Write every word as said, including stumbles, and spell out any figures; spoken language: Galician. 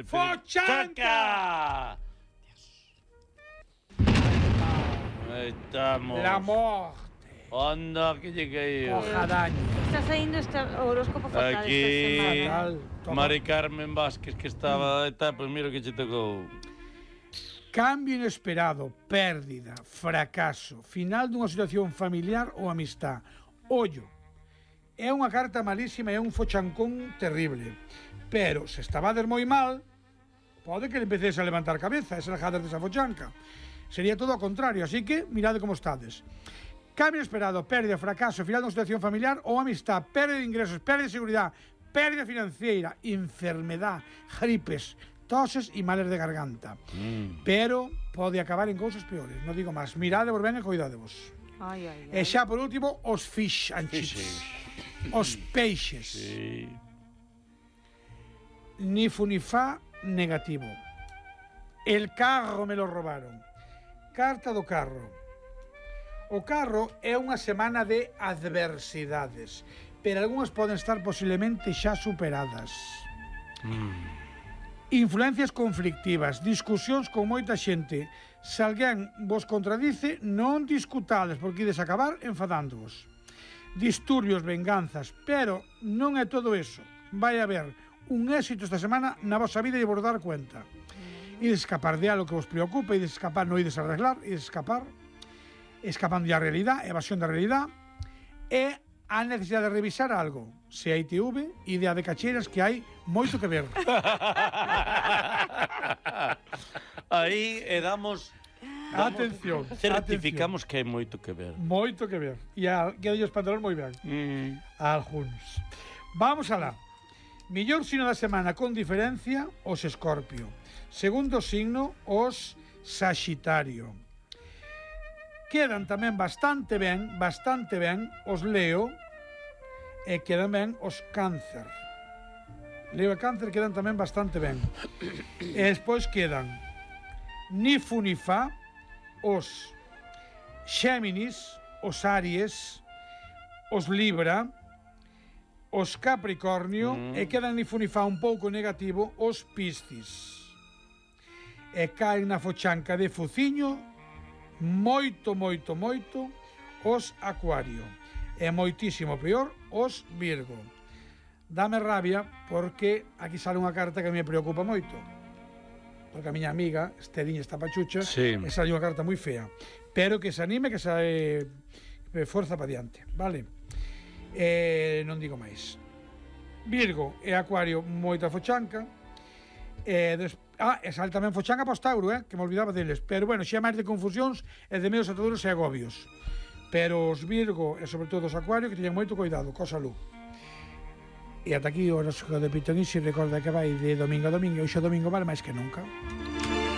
¡Fochanca! Aí estamos. La morte. Anda, que lleguei. Ojadaña. Está saindo este horóscopo fatal Aquí, esta semana. Fatal. Mari Carmen Vázquez, que estaba... Está, pues mira que che tocou. Cambio inesperado, pérdida, fracaso, final dunha situación familiar ou amistad. Ollo, é unha carta malísima, é un fochancón terrible. Pero, se estabades moi mal, pode que le empeces a levantar cabeza, esa lejada desa fochanca. Sería todo ao contrario, así que mirade como estades. Cambio inesperado, pérdida, fracaso, final dunha situación familiar ou amistad, pérdida de ingresos, pérdida de seguridade, pérdida financiera, enfermedad, gripes, toses e males de garganta. Mm. Pero pode acabar en cousas peores, non digo máis. Mirade vos ben e cuidadevos. Ai, ai, ai. E xa por último, os fish and chips. Os peixes. Sí. Ni fu ni fa, negativo. El carro me lo robaron. Carta do carro. O carro é unha semana de adversidades, pero algunhas poden estar posiblemente xa superadas. Mm. Influencias conflictivas, discusións con moita xente. Se alguén vos contradice, non discutades, porque ides acabar enfadándoos. Disturbios, venganzas, pero non é todo eso. Vai haber un éxito esta semana na vosa vida e vos dar cuenta. Ides escapar de algo que vos preocupa, ides escapar, non ides arreglar, ides escapar, escapando da realidade, evasión da realidade, e a necesidade de revisar algo. Se hai I T V, idea de cacheiras que hai moito que ver. Aí e damos... Atención, certificamos atención. Que hai moito que ver. Moito que ver. E a, que hai os pantalones moi ben. Mm. Alguns. Vamos alá. Millor signo da semana con diferencia, os Escorpio. Segundo signo, os Saxitario. Quedan tamén bastante ben, bastante ben os Leo e quedan ben os Cáncer. Leo e Cáncer quedan tamén bastante ben. E despois quedan ni fu ni fa, os Xéminis, os Aries, os Libra, os Capricornio, mm. e quedan ni fu ni fa un pouco negativo os Piscis. E caen na fochanca de fuciño moito, moito, moito os Acuario. E moitísimo peor os Virgo. Dame rabia porque aquí sale unha carta que me preocupa moito. Porque a miña amiga, Esteriña esta pachucha, sí. E sale unha carta moi fea. Pero que se anime, que se eh, forza para diante, vale? Eh, non digo máis. Virgo e Acuario, moita fochanca. E des... Ah, e sale tamén fochanca para os Tauro, eh, que me olvidaba deles. Pero bueno, xa máis de confusións e de medos ataduros e agobios. Pero os Virgo e sobre todo os Acuario que teñen moito cuidado, co salud. E ata aquí o horóscopo de Pitonisi. Recorda que vai de domingo a domingo e hoxe domingo vale máis que nunca.